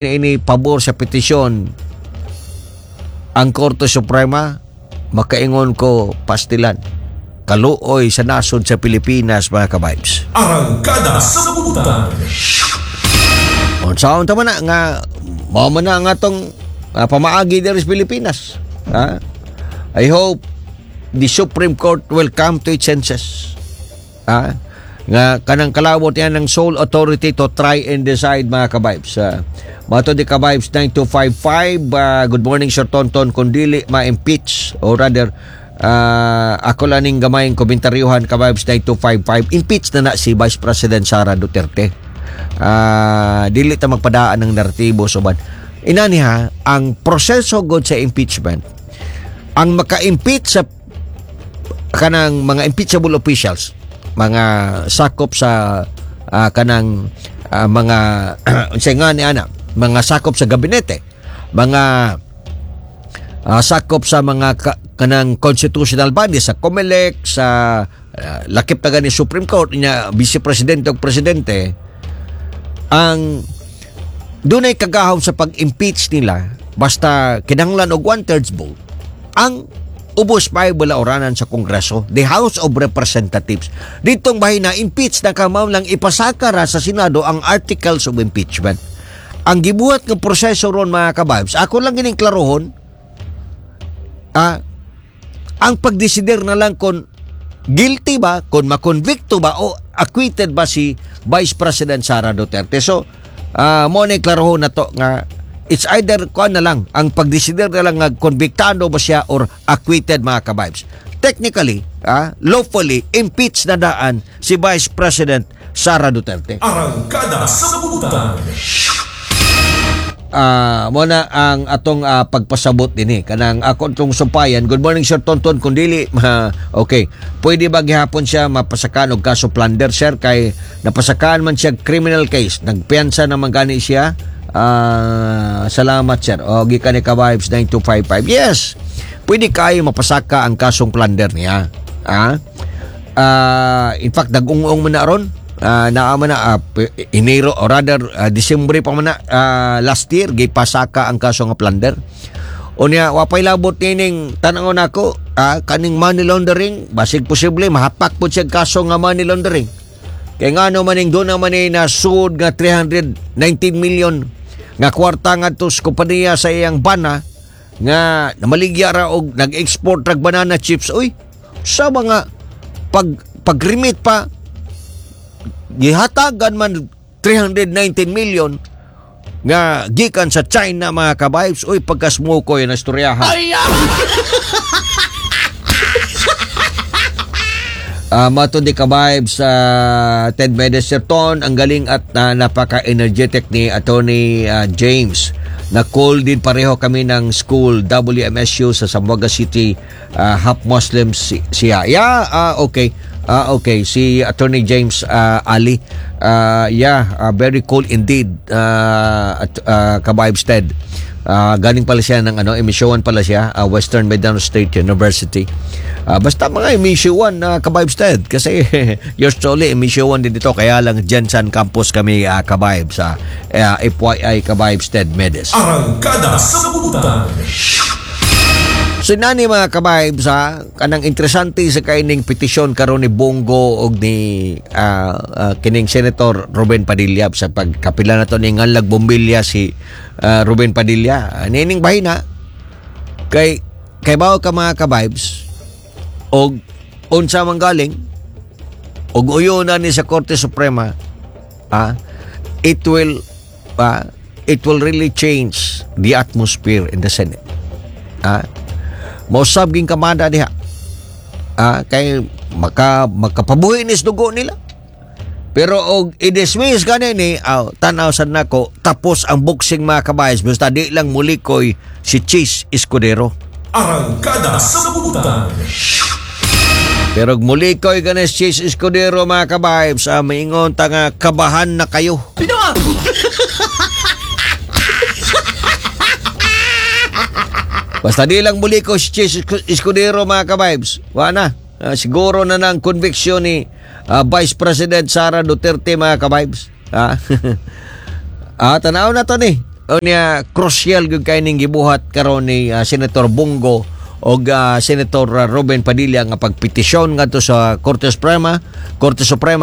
Ini pabor sa petisyon ang Korte Suprema, makaingon ko, pastilan. Kaluoy sa nasod sa Pilipinas, mga ka-vibes. Arangkada sa Butan. Unsaon ta man na nga mao man na nga tong pamaagi diri sa Pilipinas. Ha? I hope the Supreme Court will come to its senses. Ha? Nga kanang kalawot yan ng sole authority to try and decide, mga ka-vibes. Mato di ka-vibes 9255, good morning, Sir Tonton. Kung dili ma-impeach or rather ako lang ning gamayng komentaryuhan, ka-vibes 9255, impeach na na si Vice President Sara Duterte. Dili ta magpadaan ng naratibo soban. Inani ha, ang proseso god sa impeachment, ang maka-impeach sa kanang mga impeachable officials, mga sakop sa kanang mga unsay nga ni ana, mga sakop sa gabinete, mga sakop sa mga kanang constitutional bodies sa COMELEC, sa lakip na gani Supreme Court niya, vice presidente o presidente, ang dunay kagahom sa pag-impeach nila basta kinahanglan og one-thirds vote ang ubos pa balaoranan sa Kongreso, the House of Representatives. Ditong bahina, impeach na ka, mao lang ipasaka ra sa Senado ang articles of impeachment. Ang gibuhat ng proseso ron, mga ka-vibes, ako lang gining klarohon, ang pagdesider na lang kung guilty ba, kung makonvikto ba o acquitted ba si Vice President Sara Duterte. So, mo na klarohon na to nga it's either kuan na lang, ang pagdesider na lang nga konbiktado ba siya or acquitted, mga ka-vibes. Technically, lawfully, impeached na daan si Vice President Sara Duterte. Arangkada sa Butan. Mo na ang atong pagpasabot dinhi kanang ako tong sumpayan. Good morning, Sir Tonton. Kung dili ma, okay, pwede ba gihapon siya mapasakan og kaso plunder, sir, kay napasakan man siya criminal case, nagpiyansa naman gani siya? Salamat, sir. O gikan ni ka-vibes 9255. Yes, pwede kayo mapasaka ang kasong plunder niya. In fact, nag-ung-ung man na ron. Naa man na Enero or rather Disyembre pa man na last year gipasaka ang kaso nga plunder. Unya wa pay labot nining tan-awon nako kaning money laundering, basig posible mahapak pud siya kaso nga money laundering. Kay ngano maning doon naman ni nasud nga 319 million nga kwarta ngadto sa kompanya sa iyang bana nga namaligya ra og nag-export rag banana chips, uy, sa mga pag pag-remit pa gihatagan man 319 million nga gikan sa China, mga ka-vibes. Uy, pagkasmukoy na istoryahan. Mato di ka-vibes sa Ted Medeserton, ang galing at napaka-energetic ni Attorney James. Na-call din, pareho kami ng school WMSU sa Zamboanga City, half Muslim siya. Yeah, okay. Okay, si Attorney James Ali. Yeah, very cool indeed, at ka-vibes Ted. Galing pala siya ng ano, emisyon pala siya, Western Mindanao State University. Basta mga emission na ka-vibes Ted kasi yours truly emission din dito, kaya lang GenSan Campus kami, ka-vibes sa FYI, ka-vibes Ted Medes. Arangkada sa Butan. So nani, mga ka-vibes ha, kanang interesante sa kaining petisyon karon ni Bong Go og ni kining Senator Robin Padilla sa pagkapila na to ni Nganlag Bombilya si Ruben Padilla. Nining bahina kay kay bawo ka, mga ka-vibes, og unsa man galing og uyo na ni sa Korte Suprema, it will really change the atmosphere in the Senate. Mausab ging kamada diha. Kay makapabuhi ni dugo nila. Pero og i-dismiss gani ni, aw, tanaw sad nako, tapos ang boxing, mga ka-vibes, basta di lang mulikoy si Chiz Escudero. Arangkada sa Butan. Pero og mulikoy gani si Chiz Escudero, mga ka-vibes, maingon ta nga kabahan na kayo. Basta di lang muli ko si Chiz Escudero, mga ka-vibes. Wala na. Siguro na ng conviction ni Vice President Sara Duterte, mga ka-vibes. Tanaw na to ni. Unya crucial gyud kay ning gibuhat karon ni Senator Bong Go og Senator Robin Padilla nga pagpetisyon ngadto sa Korte Suprema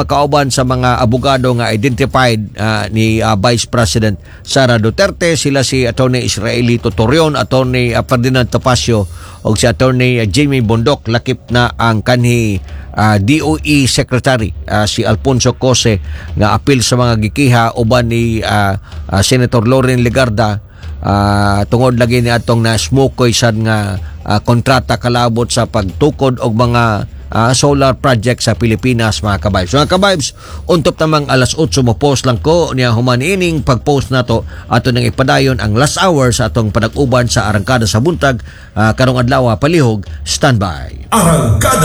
kauban sa mga abogado nga identified ni Vice President Sara Duterte. Sila si Attorney Israelito Torreon, Attorney Ferdinand Topacio og si Attorney Jimmy Bondoc, lakip na ang kanhi DOE Secretary si Alfonso Cusi nga apil sa mga gikiha uban ni Senator Loren Legarda tungod lagi ni atong na smokoy sad nga kontrata kalabot sa pagtukod og mga solar project sa Pilipinas, mga kabibes. Mga kabibes, untop tamang alas 8 mo post lang ko niya. Human ining pag-post nato, ato nang ipadayon ang last hour sa atong panag-uban sa Arangkada sa Buntag karong adlaw. Palihog standby. Arangkada.